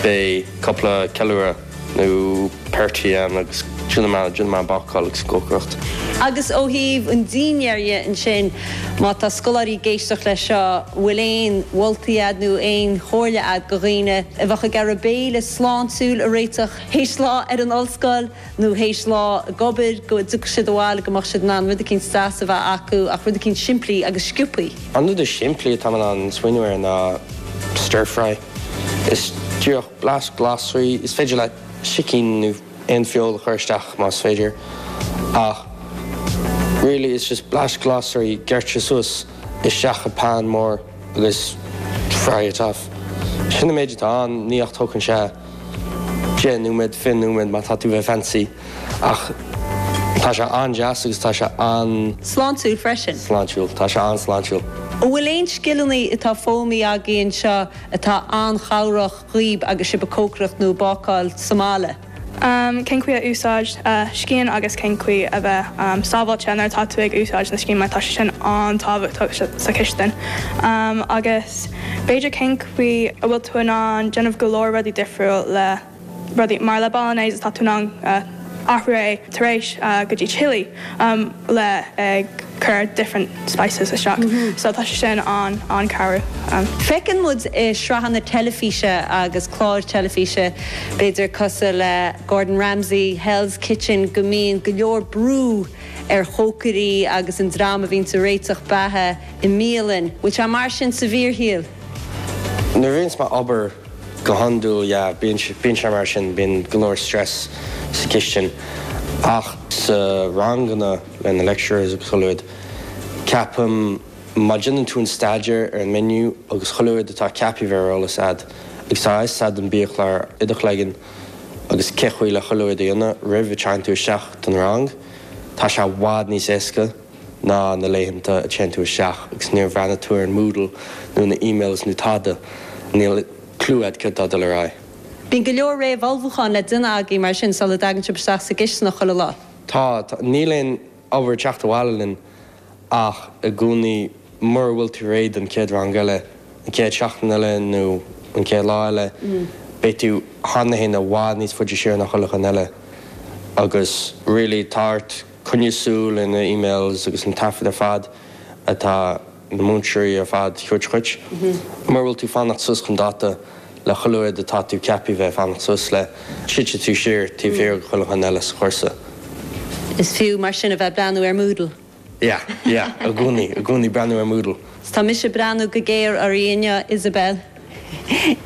Beidh cúpla ceiliúradh nó party ann agus déanfaidh mé an bácáil agus an cócaireacht. Agus ó thaobh an dinnéir dhe ansin, má tá scoláirí ag éisteacht leis seo, an bhfuil aon mholtaí a'd nó aon chomhairle a'd go dhaoine a bheadh ag iarraidh béile sláintiúil a réiteach théis lá ar an ollscoil nó théis lá ag obair, go dtiocfadh siad abhaile go mbeadh siad in ann rud eicínt deas a bheith acu ach rud eicínt simplí agus sciobthaí? An rud is simplí atá mé in ann smaoineamh air ná stir fry. Is díreach blaisc glasraí, is féidir leat sicín nó aon feoil a chur isteach más féidir ach really it's just blaisc glasraí gearrtha suas isteach i pan mór agus fry it off. Sin an méid atá ann, ní ach tógann sé 10 nóiméad, 20 nóiméad má tá tú bheith fancy ach tá sé an-deas agus tá sé an. Sláintiúil freisin. Sláintiúil, tá sé an-sláintiúil. An bhfuil aon scileanna atá foghlamtha agaibh anseo atá an-chabhrach dhaoib agus sibh ag cócaireacht nó ag bácáil sa mbaile? Cén chaoi a úsáid scian agus cén chaoi a bheith sábháilte nuair atá tú ag úsáid na scian mar tá sé sin an-tábhachtach sa chistin agus b'fhéidir cén chaoi a bhfuil tú in ann déanamh go leor rudaí difriúil le rudaí mar le bolognese tá tú in ann athrú é tar éis go dtí chili le ag cur different spices isteach so tá sé sin an an-cabhrú. Feiceann muid i sraitheanna teilifíse agus cláir teilifíse, b'fhéidir cosúil le Gordon Ramsay, Hell's Kitchen, go mbíonn go leor brú ar chócairí agus an dream a bhíonns ag réiteach beatha i mbialann. Bhfuil sé mar sin sa bhfíorshaol? Nuair a bhíonns mé obair go hiondúil, yeah, bíonn bíonn sé mar sin, bíonn go leor stress sa chistin. Ach sa ranganna le na lecturers agus chuile rud, ceapaim má déanann tú an staidéar ar an menu agus chuile rud atá ceaptha bheith ar eolas a'd agus tá a fhios a'd an biachlár i do chloigeann agus cé chaoi le chuile rud a dhéanamh roimh a téann tú isteach don rang, tá sé i bhfad níos éasca. ná na laethanta a téann tú isteach agus níor bhreathnaigh tú ar an Moodle nó na emails nó tada, níl clue a'd céard atá ag dul ar aghaidh. Bíonn go leor réamh-ullmhúcháin le déanamh agaibh mar sin sula dtagann sibh isteach sa gcisteanach chuile lá. Tá, tá. Níl aon obair ag teacht abhaile linn ach i gcónaí mura bhfuil tú réidh don chéad rang eile, an chéad seachtain eile nó an chéad lá eile, beidh tú cheana féin i bhfad níos faide siar ná chuile dhuine eile agus really tá ort coinneáil súil ar na emails agus an taifead ar fad atá na múinteoirí ar fad a thabhairt dhuit. Mura bhfuil tú fanacht suas chun dáta le chuile rud atá tú ceaptha bheith fanacht suas le, titfidh tú siar taobh thiar de chuile dhuine eile sa chúrsa. Is fiú mar sin a bheith ag breathnú ar Moodle. Yeah, yeah, i gcónaí, i gcónaí breathnú ar Moodle. Tá mise ag breathnú go géar oraibh inniu, Isabel.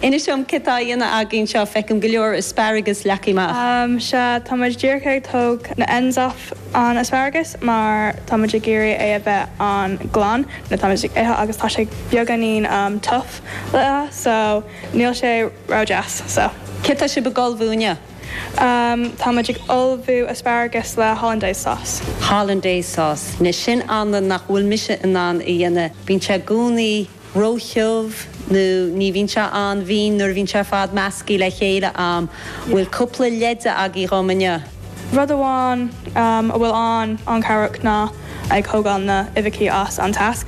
Inis dom céard tá á dhéanamh agaibh anseo, feicim go leor asparagus leagtha amach. Sea, tá muid díreach ag tóg na ends off an asparagus mar tá muid ag iarraidh é a bheith an-ghlan nuair atá muid ag ithe agus tá sé beagáinín tough le ithe so níl sé ró-deas so. Céard tá sibh ag ullmhú inniu? Tá muid ag ullmhú asparagus le hollandaise sauce. Hollandaise sauce. Anois sin anlann nach bhfuil mise in ann a dhéanamh. Bíonn sé i gcónaí róthiubh nó ní bhíonn sé an-mhín nuair a bhíonn sé ar fad measctha le chéile a'm. Bhfuil cúpla leide agaibh dhom inniu? Rud amháin a bhfuil an-an-chabhrach ná ag thógáil na uibheachaí as an teas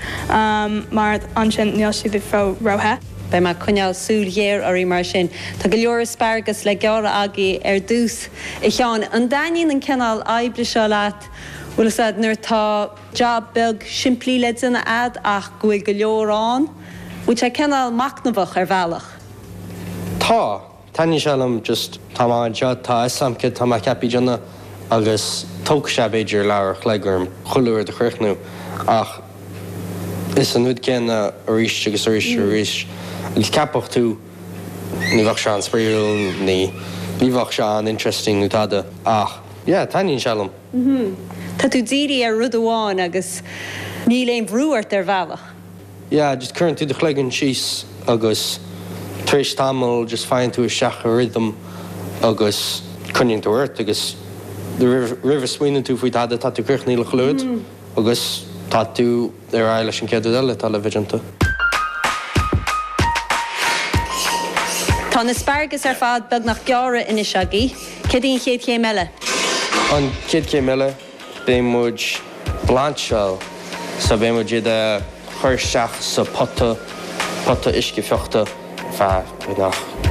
mar ansin níl siad ró-the. Beidh mé ag coinneáil súil ghéar oraibh mar sin. Tá go leor asparagus le gearradh agaibh ar dtús, a Sheáin. An dtaitníonn an cineál oibre seo leat, bhfuil fhios a'd, nuair atá job beag simplí le déanamh a'd ach go bhfuil go leor ann? Bhfuil sé cineál machnamhach ar bhealach? Tá. Taitníonn sé liom just tá mé anseo, tá a fhios a'm céard tá mé ceaptha déanamh agus tógfaidh sé b'fhéidir leathuair a chloig orm chuile rud a chríochnú ach is an rud céanna arís agus arís arís agus ceapfadh tú ní bheadh sé an-spraíúil ní ní bheadh sé an-interesting nó tada ach yeah taitníonn sé liom. Tá tú dírithe ar rud amháin agus níl aon bhrú ort ar bhealach. Yeah, just cuireann tú do chloigeann síos agus tar éis tamaill just faigheann tú isteach i rhythm agus coinníonn tú ort agus roimh a smaoineann tú faoi tada tá tú críochnaithe le chuile rud agus tá tú ar aghaidh leis an chéad rud eile atá le bheith déanta. Tá na asparagus ar fad beagnach gearrtha anois agaibh. Céard í an chéad chéim eile? An chéad chéim eile? Beidh muid blancháil so beidh muid iad a chur isteach sa pota, pota uisce fiuchta ar feadh beagnach.